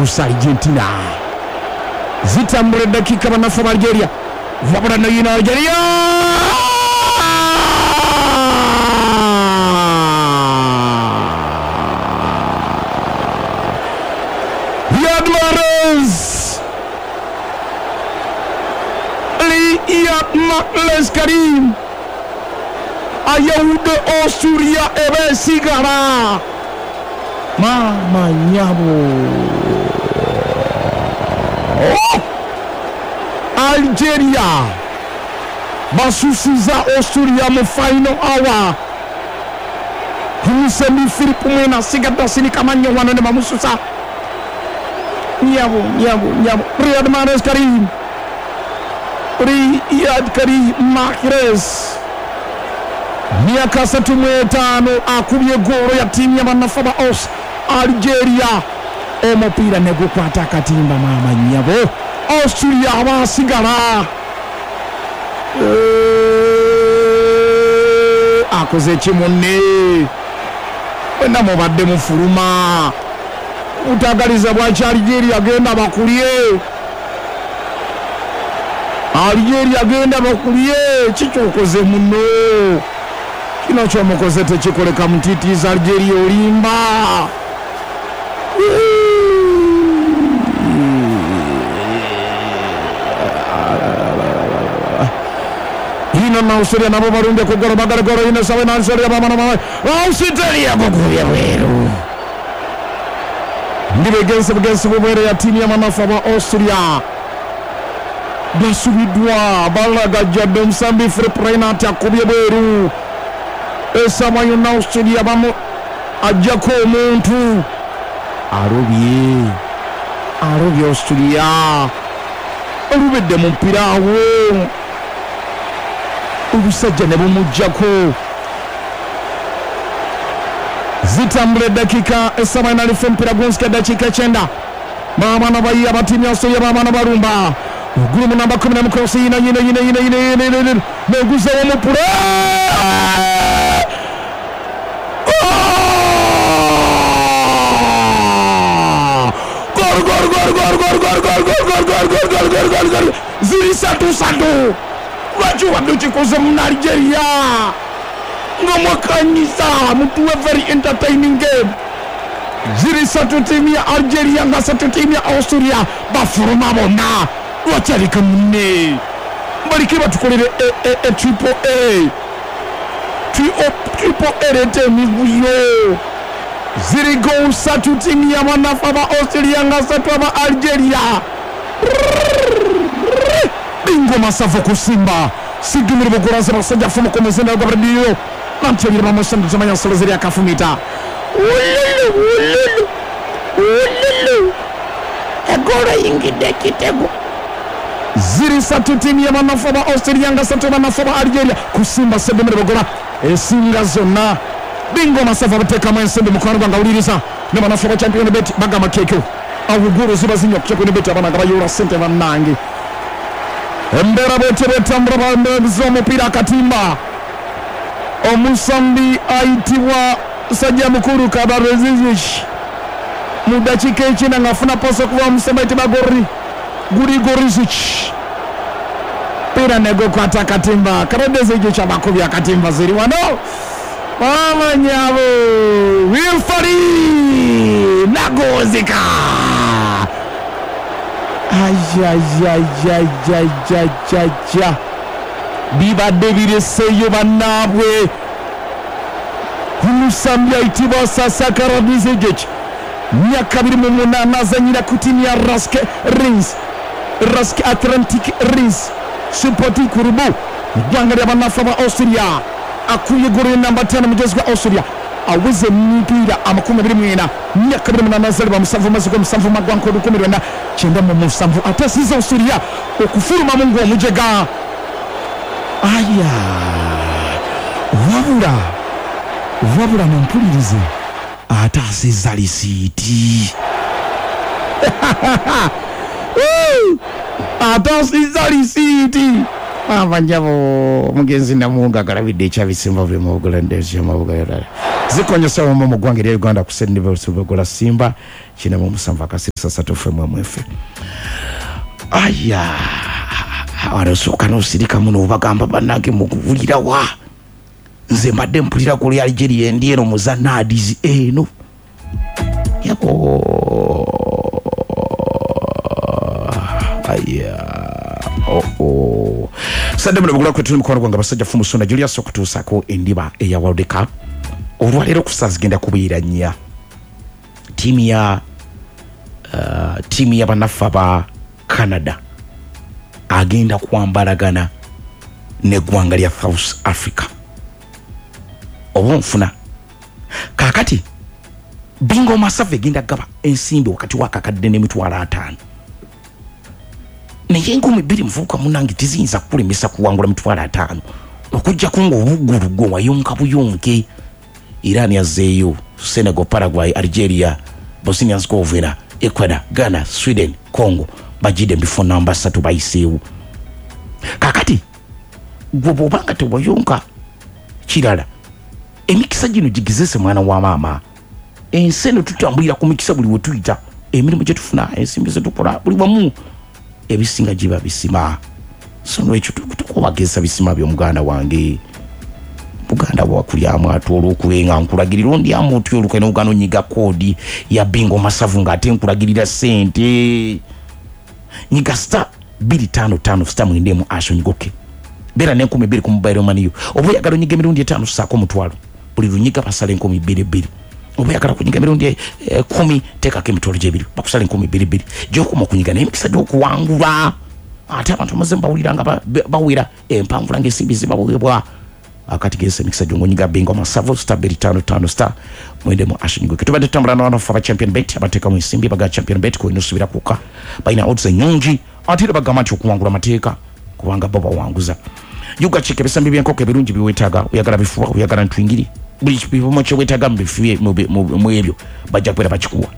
Kusa Argentina. Zitambula eddakiika bannaffe ba Algeria. Wabula no yino Algeria! Riyad Mahrez! Riyad Mahrez Karim ayawudde Australia eba esigala. Maama nyabo. Oh! Algeria basusiza Australia mu final hour. Omusembi Philip Mwena asigadde asinika mannyo wano ne bamususa. Nyabo, nyabo, nyabo. Riyad Mahrez Karim. Riyad Karim Mahrez. Myaka 35 akubye goolo ya ttiimu y'abannaffe ba Aus Algeria. Omupiira ne gukwata akatimba maama nnyabo. Australia abaasigala. Akoze ki munne? Mwenna mubadde mufuluma. Butagaliza bwaki Algeria genda bakulye. Algeria genda bakulye. Kikyokoze munno. Kino kyomukoze tekikoleka mutiitiiza Algeria olimba. Ino na Australia nabo barumbye ku golo bagala golo ino sawe na Australia bamana mama. Australia gukubye bweru. Ndi begense begense bubwere ya tiimu y'amanafu aba Australia. Basubiddwa balagajjadde omusambi Philip Reinhardt akubye bweru. Esaawa yonna Australia bamu ajjako omuntu. Alobye. Alobye Australia. Olubedde mu mupiira awo. Obusajja ne bumuggyako. Zitambula eddakiika essaawa enalifu omupiira gw'ensika eddakiika 9. Baabana bayiya abatiimu ya Australia baabana balumba. Oguli mu namba 10 mukosi yina yina yina yina yina yina yina yina neguzewo omupula. Gol gol gol gol gol gol gol gol gol gol gol gol gol gol gol. Ziri satu satu. Lwaki wadde okikoze mu Algeria? Nga mwakanyiza mutuwe very entertaining game. Ziri satu ttiimu ya Algeria nga satu ttiimu ya Australia bafuluma bonna. Lwaki aleka munne? Baleke batukolere e triple A. Triple A leeta emivuyo. Ziri goal satu ttiimu y'abanafu aba Australia nga satu aba Algeria. Bingo masavu kusimba. Sigumire buguraza basajja fumu komezenda gwa radio. Nantebira bamusanda zamanya nsolo ziri akafumita. Ululu ululu. Ululu. Egolo yingidde ekitego. Ziri satu ttiimu y'abanafu aba Australia nga satu abanafu aba Algeria. Kusimba Sigumire bugura esinga zonna. Bingo masavu abateekamu ensimbi mukwano gwange awuliriza. Ne banafu aba Champion Bet bagamba kekyo. Awugulu ziba zinywa ku Champion Bet abaana nga bayoola ssente bannange. Embeera bwetyo bwetambula bambeeza omupiira akatimba. Omusambi ayitibwa Sajja Mukulu Kabarezizic mu ddakiika 9 ng'afuna pasi okuva omusambi ayitibwa Grigorizic. Piira ne gukwata akatimba. Kabarezizic abakubye akatimba ziri wano. Mama nyabo Wilfari Nagozika. Ajajajajajaja. Bibadde bireseeyo bannaabwe. Omusambi ayitibwa Sasa Karadzic myaka 28 azannyira ku ttiimu ya Rask Rins. Rask Atlantic Rins Sporting Club eggwanga ly'abannaffe aba Australia. Akubye ggoolo namba 5 mujezi gwa Australia. Aweze emipiira 24 myaka 28 azaalibwa 7 mwezi gwa 7 mwaka 1997 atasiza Australia okufulumamu ng'omujega. Aya wabula wabula mumpulirize ataasiza lisiiti. Ataasiza lisiiti. Mama njabo mugenzi Namunga agalabidde ekyabisimba buli mubugula ndezi mabuga. Zikonyesa mu mu ggwanga erya Uganda ku Sendibgola Simba 97 akasisa 3 FM MF. Aya arasooka n'osirika muno obagamba bannange mukuwulira wa nze mbadde mpulira ku lya Algeria endi eno muzanaadizi eno yako aya oh sadde muno bugula kwetu mukwano gwange abasajja fumusona Julius okutuusaako endiba eya World Cup olwaleero ku ssaawa zigenda kubeera nnya tiimu ya bannaffe aba Canada agenda kwambalagana n'eggwanga lya South Africa oba nfuna kaakati Bingo Masavu egenda gaba ensimbi wakati w'akakadde n'50,000 naye 2,000 muvubuka munnange teziyinza kukulemesa kuwangula 50,000 okuggyako ng'obuggulu gwe wayonka buyonke. Iran yazzeeyo, Senegal, Paraguay, Algeria, Bosnia Herzegovina, Ecuador, Ghana, Sweden, Congo bagidde mu bifo namba 3 bayiseewo. Kaakati gwe bw'obanga tewayonka kirala emikisa gino gigezese mwana wa maama. Ensi eno tutambulira ku mikisa buli we tuyita, emirimu gye tufuna, ensimbi ze tukola, buli wamu ebisinga giba bisima. So nolwekyo tukubagezesa bisima by'omuganda wange. Buganda bwakulyamu ate olw'okubenga nkulagirira ondyamu otya olukwe n'ogaana onyiga koodi ya Bingo Masavu ng'ate nkulagirira ssente. Nyiga star 255 star 9 asho nyigoke beera n'2,000 ku mobile money yo. Oba oyagala onyiga emirundi 5 ssaako 5,000 buli lunyiga basala 2,000 Oba oyagala kunyiga emirundi 10 teekako 2,000 bakusala 2,000 gy'okoma okunyiga naye emikisa gy'okuwangula ate abantu bamaze mbawulira nga bawera empanvula ng'ensimbi zibaweebwa. Akati gese emikisa gy'ongonyiga Bingo Masavu star 255 star 9 asho nyigoke. Tubadde tutambula n'abanafu aba Champion Bet abateekamu ensimbi baga Champion Bet kw'olina osubira kwokka balina odds ennyingi ate era bagamba nti okuwangula mateeka kubanga bo bawanguza. Yuga chike ebisambi by'enkoko ebirungi biweetaaga, oyagala bifuba, oyagala ntwingiri, buli kipimo kye weetaaga mu bifuye mu ebyo bajja kubeera bakikuwa.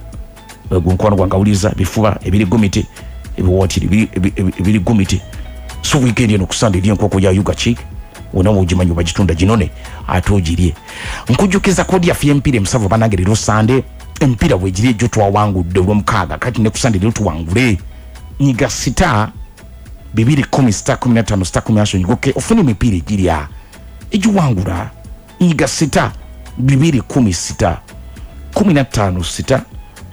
Ogwo mukwano gwange awuliriza bifuba ebiri gumiti ebiwaatiri ebiri gumiti. So weekend eno ku Sunday eri enkoko ya Yuga Chick wonna wogimanyi bagitunda ginone ate ogirye. Nkujjukiza kodi yaffe y'emipiira emisanvu bannange leero Sunday emipiira bwegiri egyo twawangudde olw'omukaaga kati ne ku Sunday leero tuwangule. Nyiga star 210 star 15 star 10 nyigoke ofune emipiira egirya egiwangula. Nyiga star 210 star 15 star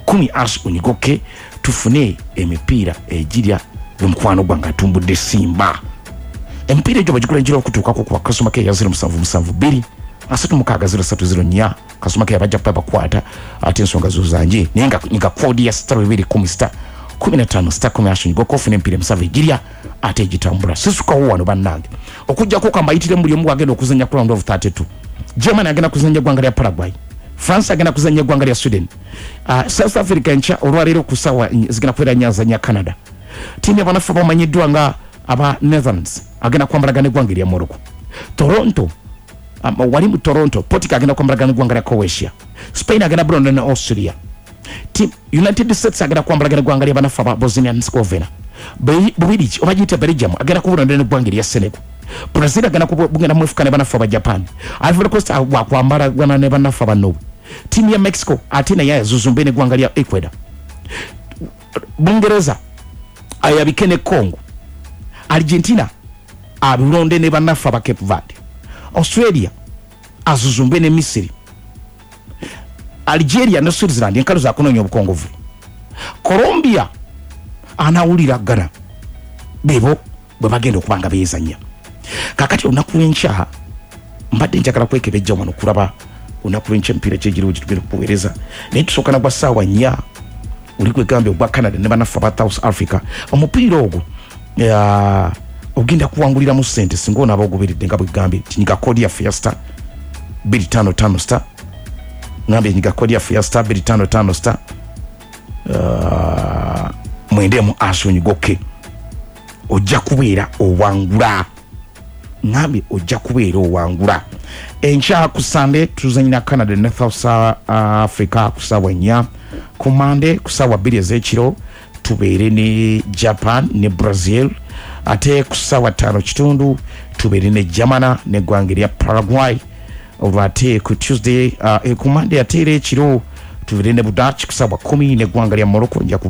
10 ash onyigoke tufune emipiira egirya omukwano gwange atumbudde Simba. Emipiira egyo bagigula enjira okutuukako ku bakasoma ke ya 0772 36 0304 kasoma ke abajja kuba bakwata ate ensonga zo zanje naye nga nyiga koodi ya star 210 star 15 star 10 ash onyigoke ofune emipiira emisanvu egirya ate egitambula. Sisukawo wano bannange okuggyako kambayitire buli omu agenda okuzannya ku round of 32. Germany agenda kuzannya eggwanga lya Paraguay, France agenda kuzannya eggwanga lya Sweden, South Africa enkya olwaleero ku ssaawa zigenda kubeera nnya azannya Canada. Ttiimu y'abanafu abamanyiddwa nga aba Netherlands agenda kwambalagana eggwanga erya Morocco. Toronto wali mu Toronto, Portugal agenda kwambalagana eggwanga lya Croatia, Spain agenda bulonda ne Austria. United States agenda kwambalagana eggwanga ly'abanafu aba Bosnia and Herzegovina. Bubirigi oba giyite Belgium agenda kubulonda n'eggwanga erya Senegal. Brazil agenda kubugenda mwefuka ne banafu aba Japan. Ivory Coast wakwambalagana ne banafu aba Norway. Ttiimu ya Mexico ate naye yazuzumbe n'eggwanga lya Ecuador. Bungereza ayabike ne Congo. Argentina abulonde ne banafu aba Cape Verde. Australia azuzumbe ne Misiri. Algeria ne Switzerland enkalu za kunoonya obukongovu. Colombia anawulira Ghana bebo bwe bagenda okuba nga beezannya. Kaakati olunaku lw'enkya mbadde njagala kwekebejja wano kulaba olunaku lw'enkya emipiira gyegiriwo gye tugenda okuweereza naye tusooka na gwa ssaawa 4 oli gwegambye ogwa Canada ne bannaffe aba South Africa. Omupiira ogwo ogenda kuwanguliramu ssente singa onaaba ogoberedde nga bwegambye nti nyiga koodi yaffe ya star 255 star ngambye nyiga koodi yaffe ya star 255 star 9 asho onyigoke ojja kubeera owangula. Ngambye ojja kubeera owangula. Enkya ku Sunday tuzannyira Canada ne South Africa ku ssaawa 4. Ku Monday ku ssaawa 2 ez'ekiro tubeere ne Japan ne Brazil. Ate ku ssaawa 5:15 tubeere ne Germany n'eggwanga erya Paraguay. Olwo ate ku Tuesday, ku Monday ate era ekiro tubire ne Budach ku saawa 10 n'eggwanga lya Morocco. Nja kuba